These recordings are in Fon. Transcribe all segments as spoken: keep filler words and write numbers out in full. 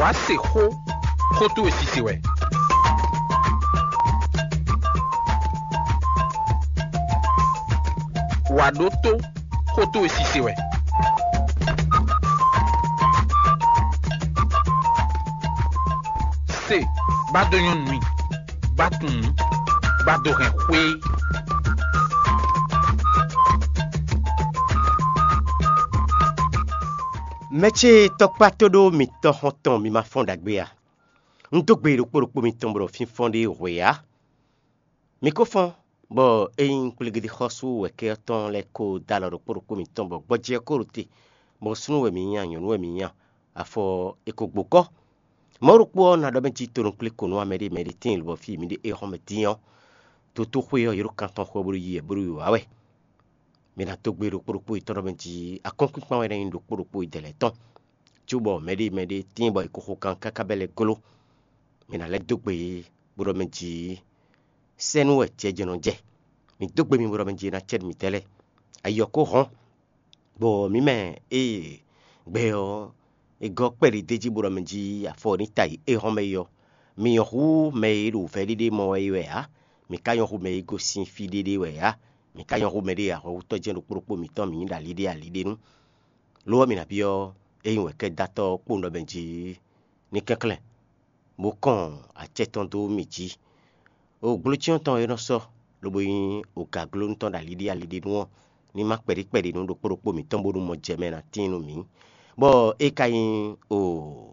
Wǎ se xó, xó towe sise wɛ. Wǎ ɖótó, xó towe sise wɛ. Se, bá dó nyɔ́ nú i, bá tunwun, bá dó hɛn xwé. Mɛ ce tɔkpá tóɖó mitɔ́ xɔ́ntɔn mi ma fɔ́n ɖagbe a? Un dó gbe ɖokpó ɖokpó mitɔn bɔ ɖo fínfɔ́n ɖé hwe ǎ. Mi ko fɔ́n, bɔ ényí kplégédé xɔ́sú wɛ̌kɛ́ ɔ́ tɔn lɛ́ɛ ko dó alɔ ɖokpó ɖokpó mitɔn bɔ gbɔjɛ́ ɔ́ ko ɖo te, bɔ súnnu wɛ mǐ nyí a, nyɔ̌nu wɛ mǐ nyí a, afɔ ɔ́, è ko gbo kɔ́. Mɔ̌ ɖokpó ɔ́ ná ɖɔ mɛ jí tonukplé ko nú amɛ ɖé mɛ ɖé tíin lobɔ fí mǐ ɖe éhɔ́nmɛ dín ɔ́, dotóxwé ɔ́, yě ɖo kan tɔn xo ɔ́ bó ɖo yi wɛ bó ɖo wiwa wɛ. Mi ná dó gbe ɖokpó ɖokpó yětɔn ɖɔ mɛ jí akɔ́nkpinkpan wɛ ná nyí ɖokpó ɖokpó yědɛɛ lɛ́ɛ tɔn, cóbɔ mɛɖé mɛɖé tíin bɔ è ko xo kan káká bɛ́ lɛ́ gló. Mi ná lɛ́ dó gbe yě bó ɖɔ mɛ jí sɛ́nú wɛ jɛ jɛ nɔ jɛ. Mi dó gbe mi bó ɖɔ mɛ jí é ná cɛ nú mǐtɛn lɛ́ɛ. Ayi ɔ́ ko hɔn, bɔ mǐ mɛ ée gbɛ ɔ́ è gɔ́ kpɛɖi d'é jí bó ɖɔ mɛ jí afɔ ɔ́ ní ta yi éhɔ́nmɛ é ɔ́, mi nyɔ̌ hú mɛ e ɖo vɛ̌ɖiɖe mɔ wɛ é wɛ ǎ; mi ka nyɔ́ hú mɛ e gosín fí ɖé ɖé wɛ ǎ; mi ka nyɔ́ hú mɛɖé e ahwanvútɔ́ jɛ́n ɖokpó ɖokpó mǐtɔn mǐ nyí ɖo ali ɖé ali ɖé nu. Lo ɔ́, mi nǎ byɔ́ ényí wɛ̌kɛ́datɔ́ ɔ́ kpó nɔ mɛ jí ní kɛnklɛ́n, bó kɔn acɛ tɔn dó mì jí. Ogblocyɔ́n tɔn e nɔ sɔ́ lobo nyí ogaglónu tɔn ɖo ali ɖé ali ɖé nu ɔ́, ní má kpɛɖí kpɛɖi nú ɖokpó ɖokpó mǐtɔn bónú mɔ jɛ mɛ ná tíin nú mǐ, bɔ é ka nyí o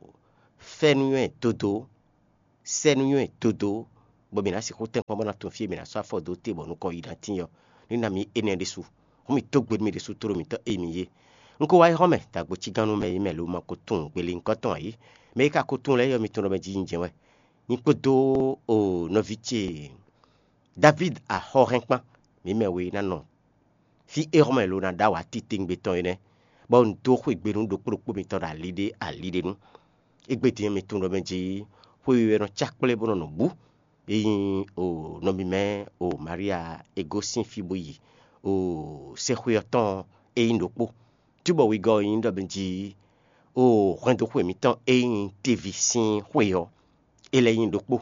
fɛ́núnywɛ́ dodó, sɛ́núnywɛ́ dodó, bɔ mǐ ná sixú tɛ́nkpɔ́n bó ná tunwun fí e mǐ ná sɔ́ afɔ dó te bɔ nukɔn yi ná tíin ɔ́, ní ná mǐ énɛ́ ɖésú. Hǔn mǐ dó gbe nú mì ɖésú tlóló mǐtɔn e mǐ yé. Un ko wá yi xɔ́ mɛ dó agbǒcígánnú mɛ e mɛ lo ma ko tunwun gbelínkɔ tɔn ǎ é. Mɛ e ka ko tunwun lɛ́ɛ ɔ́, mi tunwun ɖɔ mɛ jí nyí jɛ́n wɛ. Nyí kpódó o nɔví ce Davídi axɔ́hɛn kpán, mǐ mɛ we ná nɔ fí éhɔ́mɛ lo ná ɖó awǎ titewungbe tɔn é nɛ́, bɔ un dó xwegbe nú ɖokpó ɖokpó mitɔn ɖo ali ɖé ali ɖé nu. Égbé din ɔ́, mi tunwun ɖɔ mɛ jí xwe we wɛ nɔ cá kplé bó nɔ nɔ bǔ. É nyí o nɔ mímɛ́ o Maria e gosín fí bó yi o sɛ́xwé ɔ́ tɔn é nyí ɖokpó. Cóbɔ wegɔ́ ɔ́ nyí ɖɔ mɛ jí o hwɛndo xwe mǐtɔn e nyí teví sín xwe ɔ́, é lɛ́ nyí ɖokpó.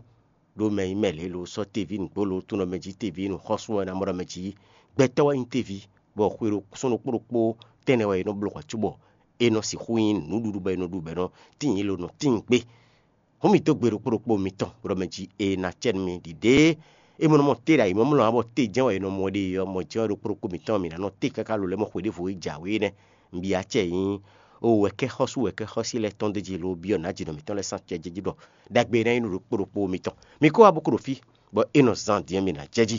Ɖó mɛ e nyí mɛ lě lo sɔ́ teví nǔgbó lo tún ɖɔ mɛ jí teví nǔxɔ́sú ɔ́ ná mɔ ɖɔ mɛ jí gbɛtɔ́ wɛ nyí teví, bɔ xwe ɖo sɔ́ ɖokpó ɖokpó tɛnɛ wɛ è nɔ bló hwɛ̌ cóbɔ è nɔ sixú nyí nǔɖuɖu bɔ è nɔ ɖu bɔ è nɔ tíin lo nɔ tíin gbé. Hǔn mǐ dó gbe ɖokpó ɖokpó mitɔn bó ɖɔ mɛ jí è nǎ acɛ nú mi ɖiɖée. É mɔ nɔ mɔ te ɖo ayǐmlɔ́mlɔ́ ǎ, bɔ te jɛ́n wɛ è nɔ mɔ ɖe ɔ́, mɔ jɛ́n wɛ ɖokpó ɖokpó mitɔn mǐ ná nɔ te káká lo lɛ́ɛ mɔ xwe ɖěvo e jǎwe énɛ́. Un byɔ́ acɛ nyí o wɛ̌kɛ́xɔ́sú wɛ̌kɛ́xɔ́sí lɛ́ɛ tɔn d'é jí lo byɔ́ nǎ jǐnɔ mǐtɔn lɛ́ɛ sín acɛ jɛ jí ɖɔ ɖagbe e ná nyí nú ɖokpó ɖokpó mitɔn. Mi kó wá bó kó ɖo fí, bɔ é nɔ zán din ɔ́, mi ná jɛ jí.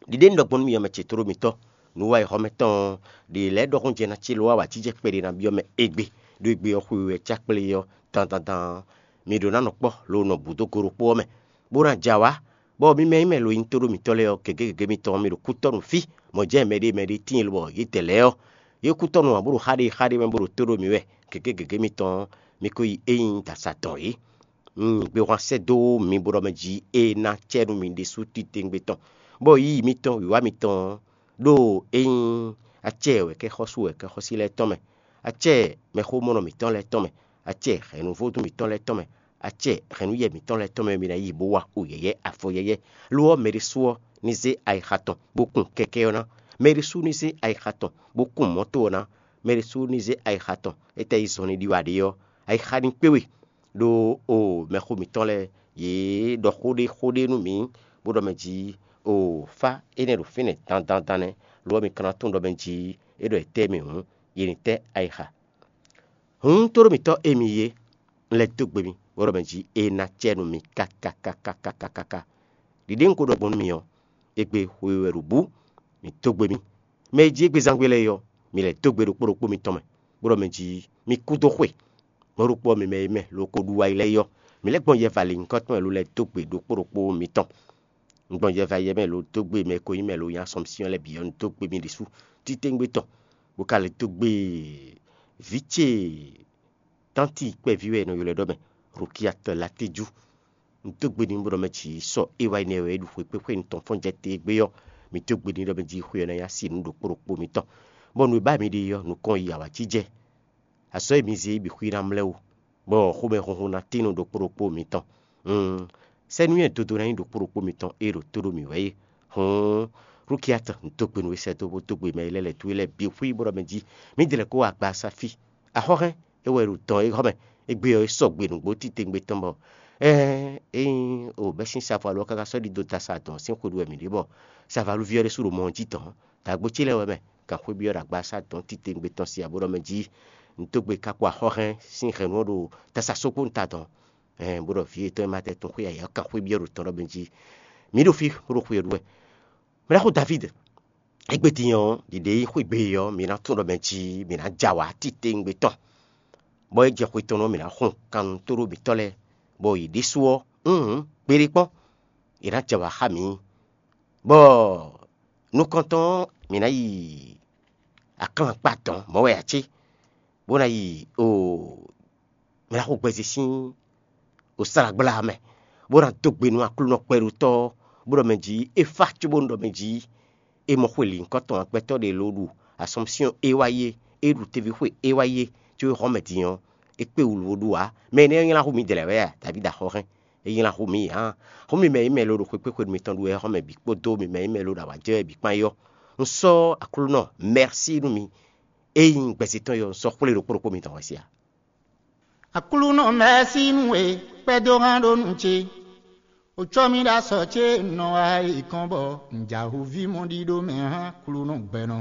Ɖiɖe un ɖɔ gbɔn nú mi ɔ́, mɛ ce tlóló mitɔ́, nǔwiwa e xɔ mɛ tɔn ɔ́, ɖě lɛ́ɛ ɖɔhun jɛ ná ce lo wá wǎ jijɛ kpɛɖé ná byɔ́ mɛ égbé, ɖó égbé ɔ́ xwe wɛ cá kplé ɔ́, dandandan ɔ́, mi ɖǒ ná nɔ kpɔ́ lo nɔ bǔ dó go ɖokpó ɔ́ mɛ, bó ná jɛ awǎ, bɔ mi mɛ nyí mɛ lo nyí tóɖó mitɔ́ lɛ́ɛ ɔ́, gěgé gěgé mitɔn ɔ́, mi ɖo kútɔ́ nú fí, mɔ̌ jɛ́n mɛ ɖé mɛ ɖé tíin lobɔ yě dɛ lɛ́ɛ ɔ́, yě kútɔ́ nú ǎ bó ɖo xá ɖé xá ɖé mɛ bó ɖo tóɖó mi wɛ, gěgé gěgé mitɔn ɔ́, mi ko yi é nyí dasa tɔn é. Un nyi gbehwan sɛ́ dó mi bó ɖɔ mɛ jí é ná acɛ nú mi ɖésú titewungbe tɔn, bɔ yiyi mitɔn, wǐwá mitɔn ɔ́, ɖó é nyí acɛ wɛ̌kɛ́xɔ́sú wɛ̌kɛ́xɔ́sí lɛ́ɛ tɔn mɛ, acɛ mɛxómɔnɔ mǐtɔn lɛ́ɛ tɔn mɛ, acɛ hɛ̌nnúvodún mǐtɔn lɛ́ɛ tɔn mɛ, acɛ hɛ̌nnúyɛ mǐtɔn lɛ́ɛ tɔn mɛ, mi ná yi bó wa xo yɛ̌yɛ́ afɔ yɛ́yɛ́. Lo ɔ́, mɛ ɖésú ɔ́ ní zé ayixa tɔn bó kun kɛkɛ́ ɔ́ ná; mɛ ɖésú ní zé ayixa tɔn bó kun mɔ̌to ɔ́ ná; mɛ ɖésú ní zé ayixa tɔn étɛ́ yi zɔn ní ɖi wá ɖe ɔ́, ayixa ní kpé we. Ɖó o mɛxó mǐtɔn lɛ́ɛ, yě ɖɔ xó ɖé xó ɖé nú mǐ, bó ɖɔ mɛ jí o fá énɛ́ ɖo fínɛ́ dandandan nɛ́; lo ɔ́, mi ka ná tunwun ɖɔ mɛ jí é ɖɔ è tɛ́ mì hǔn, yě ní tɛ́ ayixa. Hǔn tóɖó mǐtɔn e mi yé, un lɛ́ dó gbe mi, bó ɖɔ mɛ jí é ná acɛ nú mi káká káká káká káká. Ɖiɖe un ko ɖɔ gbɔn nú mi ɔ́, égbé xwe wɛ ɖo bǔ, mǐ dó gbe mi. Mɛ e jí égbé zán gbé lɛ́ɛ é ɔ́, mi lɛ́ dó gbe ɖokpó ɖokpó mitɔn mɛ, bó ɖɔ mɛ jí mi kú dó xwe. Mɔ̌ ɖokpó ɔ́, mi mɛ e mɛ lo ko ɖu wayi lɛ́ɛ é ɔ́, mi lɛ́ gbɔn yɛva lǐnnyíkɔ tɔn mɛ lo lɛ́ dó gbe ɖokpó ɖokpó mitɔn. Un gbɔn yɛva yɛ mɛ lo dó gbe mɛ e ko nyí mɛ lo nyí Asɔmsyɔ́n lɛ́ɛ bǐ ɔ́, un dó gbe mi ɖésú titewungbe tɔn, bó ka lɛ́ dó gbe vǐ ce tánti kpɛví wɛ è nɔ ylɔ́ ɛ ɖɔ mɛ, Rukiyatɔ Latéjú. Un dó gbe n'i bó ɖɔ mɛ jǐ sɔ é wá yi nɛ́ wɛ é ɖu xwe kpé xwé nutɔn fɔ́n jɛ te gbé ɔ́, mi dó gbe n'i ɖɔ mɛ jí xwe ɔ́ ná nyí asi nú ɖokpó ɖokpó mitɔn, bɔ nǔ e ba mi ɖe ɔ́, nukɔn yi awǎjijɛ. Azɔ̌ e mi zé é bǐ xwí ná mlɛ́ ó, bɔ xomɛhunhun ná tín nú ɖokpó ɖokpó mitɔn. Sɛ́núnywɛ́ dodo ná nyí ɖokpó ɖokpó mitɔn e ɖo tó ɖó mǐ wɛ é. Hǔn, Rukiát, un dó gbe nú we sɛ́dó bó dó gbe mɛ e lɛ́ lɛ̌ towe lɛ́ɛ bǐ xwí bó ɖɔ mɛ jí: Mǐdɛɛ lɛ́ kó wá gba Safi. Axɔ́hɛ́n, é wɛ ɖo dɔn é hɔ́ mɛ. Égbé ɔ́, é sɔgbe nǔgbó titewungbe tɔn bɔ, ɛ́n, ényí o bɛ́ sín savo alɔ ɔ́ káká sɔ́ ɖidó dasa dɔn sín xwe ɖu wɛ mǐ ɖe bɔ savo alúví ɔ́ ɖésú ɖo mɔ ɔ́ jí dɔn. Dǎgbó ce lɛ́ɛ wɛ mɛ, kanxwé byɔ́ ɖo agbaza dɔn titewungbe tɔn sí abo ɖɔ mɛ jí: Un dó gbe kákó axɔ́hɛn sín hɛ̌nnu ɔ́ ɖo dasa sókpó un ta dɔn. Ɛn, bó ɖɔ vǐ yětɔn e ma tɛ tun xwé ayǐ ɔ́ kan xwé byɔ́ ɖo tɔn ɖɔ mɛ jí: Mi ɖo fí, bó ɖo xwe ɔ́ ɖu wɛ. Mɛ ɖaxó Davíd, égbé din ɔ́, ɖiɖe e xwé gbe ɔ́, mi ná tunwun ɖɔ mɛ jí mi ná jɛ awǎ titewungbe tɔn, bɔ é jɛ xwe tɔn ɔ́, mi ná xun kannutó ɖó mǐtɔn lɛ́ɛ, bɔ yě ɖésú ɔ́, hǔn, gbeɖé kpɔ́n, yě ná jɛ awǎ xá mǐ. Bɔ nukɔntɔn ɔ́, mǐ ná yi aklán kpa dɔ̌n mɔ̌ wɛ ǎ cé, bó ná yi o mɛ ná xo gbɛzí sín o slágbla mɛ, bó ná dó gbe nú Aklúnɔ kpɛɖutɔ́, bó ɖɔ mɛ jí é fá cóbónú ɖɔ mɛ jí é mɔ xwe lǐnkɔ́ tɔn gbɛtɔ́ ɖě ló ɖu Asɔmsyɔn é wá yé, é ɖu teví xwe é wá yé, có é hɔn mɛ din ɔ́, é kpé wǔ bó ɖu ǎ. Mɛ énɛ́ ɔ́ nylá hú mǐdɛɛ lɛ́ɛ wɛ a? Davídi axɔ́hɛn, é nylá hú mǐ ǎ. Hú mì mɛ e mɛ lo ɖo xwekpéxwenu mitɔn ɖu wɛ é hɔn mɛ bǐ kpódó mi mɛ e mɛ lo ɖo awǎjɛ wɛ bǐ kpán é ɔ́, un sɔ́ Aklúnɔ mɛ̌si nú mi. Ényí un gbɛzí tɔn yɔ, un sɔ́ xwlé ɖokpó ɖokpó mitɔn hwɛ́ sí a? Aklúnɔ mɛ̌si nú we, kpɛ́dó hán ɖó nú ce. O cɔ́ mì ɖo asɔ ce nɔ wá yi kɔn bɔ un jɛ ahɔ̌ví mɔ ɖíɖó mɛ hán Aklúnɔ gbɛnɔ.